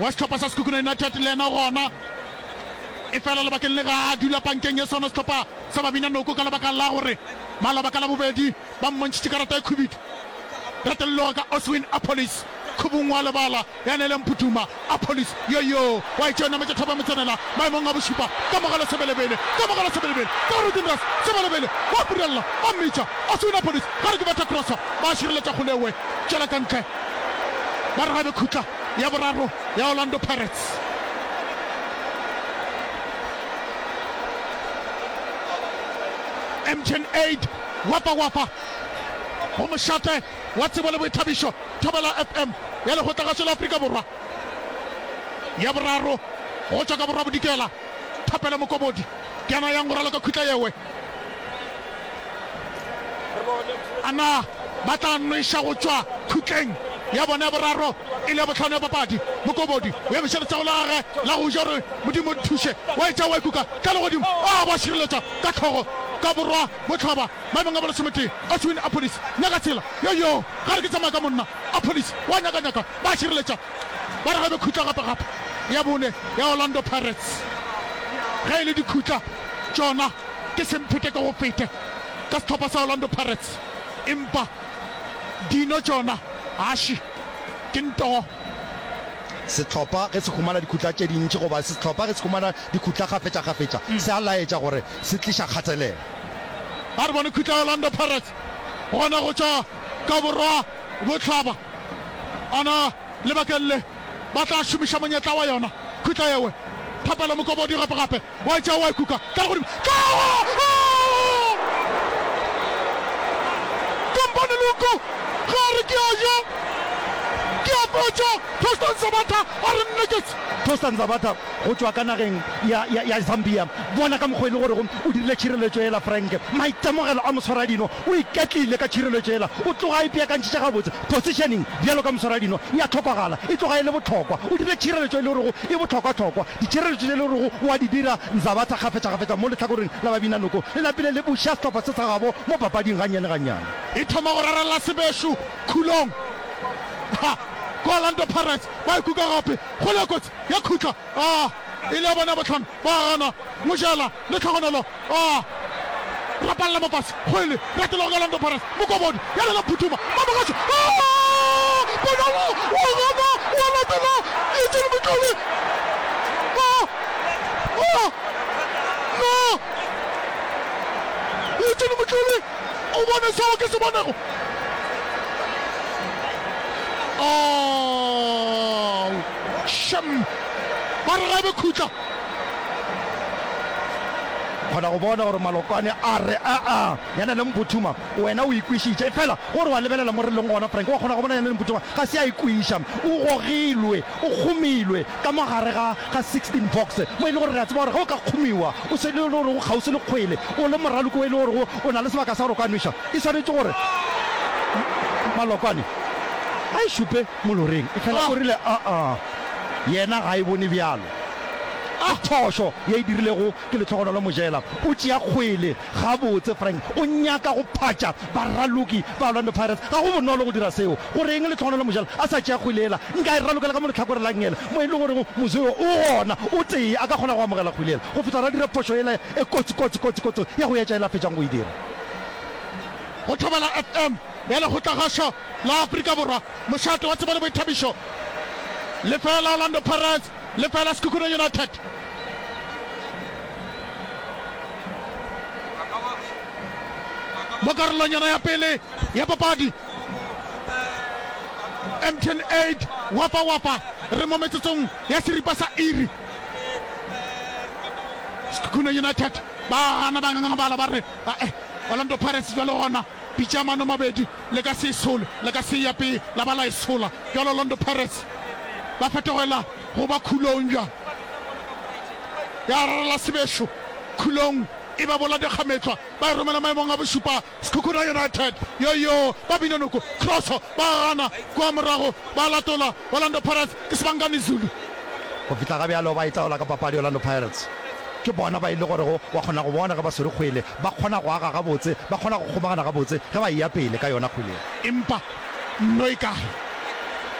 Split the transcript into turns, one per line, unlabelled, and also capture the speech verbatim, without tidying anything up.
wa sehlopha sa Sekhukhune United le yena gona. Efela lebakeng le ga a dula pankeng ye sona sehlopha sa Babina Noko ka lebaka la gore maloba ka Labobedi ba mmontšhitše karata e khubidu. Retelloga ka Oswin Appollis khubung wa lebala ya Nele Mphuthuma. Appollis yo-yo wa e tšea nametša thopa motsenela maemong a bošupa. Kamogelo Sebelebele, Kamogelo Sebelebele, Karutin Ras Sebelebele wa purella ba mmitša Oswin Appollis gare ke betha crossa ba šireletša kgolewe tšwela ka ntle ba re gabe khutla ya boraro ya Orlando Pirates. M T N eight wapa wapa go mošate wa tsebo le boithabišo Thobela F M ya Lekgotlagašo la Afrika Borwa ya boraro go tšwa ka borwa bodikela. Thapelo Mokobodi ke yena yang go raloka khutla yewe. A na ba tla nweša go tšwa khutleng ya bona ya boraro e le ya bohlano ya papadi? Mokobodi o emiša letsogo la gagwe la go ja gore Modimo nthuše. Wa etša wa ikuka tla le godimo. A ba šireletša ka hlogo ka borwa bohlaba maemong a bolesometee. Oswin Appollis nyaka tsela yo yo gare ke tsamaya ka monna. Appollis wa nyakanyaka ba šireletša ba re gabe khutla gape gape ya bone ya Orlando Pirates. Ge e le dikhutla tšona ke semphete ke go fete ka sehlopha sa Orlando Pirates, empa dino tšona aši ke ntoo.
Sehlopha ge se humana dikhutla tše dintši goba sehlopha ge se humana dikhutla kgafetšakgafetša, se a laetša gore se tliša kgatelelo.
A re bone khutla ya Orlando Pirates gona go tšwa ka borwa bohlaba. Ana lebakeng le ba tla šomiša monyetla wa yona khutla yewe. Thapelo Mokobodi gape gape wa e tšea wa e kuka tla godimo. Tlawa! Kompane Luku ge a re ke a ja ke a fetša. Tostan Sabatha a re nneketse.
Tostan Sabatha go tšwa ka nageng ya, ya, ya Zambia. Bona ka mokgwa e le gorego o dirile tšhireletšo yela, Frank. Maitemogelo a moswaradino, o iketlile ka tšhireletšo yela. O tloga a ipeakantšhitše gabotse. Positioning, bjalo ka moswaradino, e a hlokagala. E tloga e le bohlokwa. O dirile tšhireletšo e le gorego e bohlokwahlokwa. Ditšhireletšo tše e le gorego o a di dira, Nzabatha kgafetšakgafetša mo lehlakoreng la Babinanoko, le napile le buša sehlopha se sa gabo mo papading gannyane-gannyane.
E thoma go rarella sebešo khulong. Ha! Ko Orlando Pirates ba e kuka gape. Kgole ya kotsi ya khutla. A e le ya bona ya bohlano. Ba gana. Mojela le tlhogonolo. A rapalla mo fase. Kgwele ratelwa ke Orlando Pirates. Mokobodi ya lela Phuthuma. Mamogašo. A! Bonolo wa gana wa latela Eugene Motlole. A! A! Na Eugene Motlole o bone seo ke se bonego? Ao! Shem! Ba re ga e be khutla.
Kgona go bona gore Malokwane a re, Aa, yana le Mphuthuma, wena o ikwišitše. Efela gore wa lebelela mo re leng gona, Frank, wa kgona go bona yana le Mphuthuma ga se a ikwiša. O gogilwe, o kgomilwe ka mo gare ga, ga sixteen box, mo e le gore re a tseba gore ge o ka kgomiwa, o se le gore o kgauswi le kgwele, o le moraloki o e le gorego o na le sebaka sa gore o ka nweša. E swanetše gore Malokwane a e šupe moloreng, efela o rile, Aa, yena ga e bone bjalo. Ke phošo ye e dirilego ke Lehlogonolo Mojela. O tšea kgwele gabotse, Frank. O nyaka go phatša baraloki ba Orlando Pirates. Ga go bonolo go dira seo. Go reng Lehlogonolo Mojela a sa tšea kgwele yela? Nka e ralokela ka mo lehlakoreng la nngele, mo e le gorego Mozoyo o gona, o tee, a ka kgona go amogela kgwele yela go fihla ra dira phošo yela e kotsi, kotsi, kotsi, kotsi ya go etša yela a fetšang go e dira.
Go Thobela F M ya Lekgotlagašo la Afrika Borwa, mošate wa tsebo le boithabišo. Lefeela Orlando Pirates, lefeela Sekhukhune United. Mo karolong yona ya pele ya papadi, M T N eight wapa wapa re mo metsotsong ya seripa sa iri. Sekhukhune United ba gana ba ngangabala ba re ae Orlando Pirates bjalo gona pitša mano mabedi le ka se e sole le ka se ya pele la ba la e sola bjalo Orlando Pirates ba fetogela go ba khulong bjang ya rarela sebešo khulong e ba bola dikgametlwa ba e romela maemong a bošupa Sekhukhune United yo yo ba bina noko crosso ba gana kua morago ba latola Orlando Pirates ke Sibangani Zulu.
Go fihla ga bjalo ba itaola ka papadi Orlando Pirates. Ke bona ba e le gorego wa kgona go bona ge ba swere kgwele, ba kgona go aga gabotse, ba kgona go kgomagana gabotse ge ba eya pele ka yona kgwele.
Empa nno e kae?